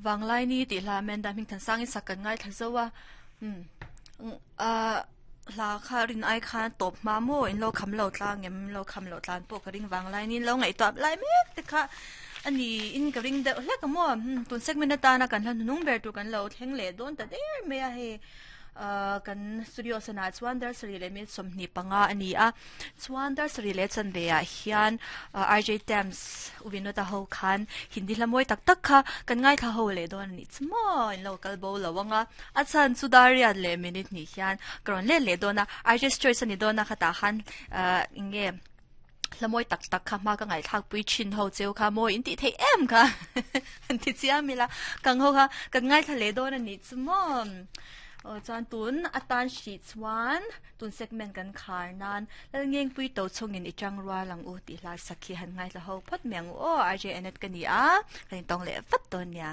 Vanglaini tih hla Amanda Hmingthansangin sak kan ngaithla zo a umm ah hla kha rin ai khan tawp hma maw in lo kham lo tlang em in lo kham loh tlan pawh ka ring vanglaini in lo ngaihtuah lai mek te kha a ni in ka ring deuh hlek a maw umm tun segment atana kan hla hnuhnung ber tur kan lo thleng leh dawn ta der mai a hei ah kan studio sanah chuan dar sarih leh minute 25 a ni a. Chuan dar sarih leh chanve ah hian RJ Tams U Vinod-a ho khan Hindi hla mawi tak tak kha kan ngaithla ho leh dawn a nih chu maw in lo kal bo lo ang a, a chhan chu dar riat leh minute hnih hian ka rawn let leh dawn a, RJ's Choice a ni dawn a khatah khan ah eng nge hla mawi tak tak kha hma ka ngaihthlak pui thin ho cheu kha mawi in tih theih em kha han ti chiam ila kang ho kha kan ngaithla leh dawn a nih chu maw aw chuan tun atan hrih chuan. Tun segment kan khar nan Lalngengpui to chungin i tang rual ang u tih hla sak hi han ngaithla ho phawt mai ang u aw, RJ Annette ka ni a, kan intawng leh vat dawn nia.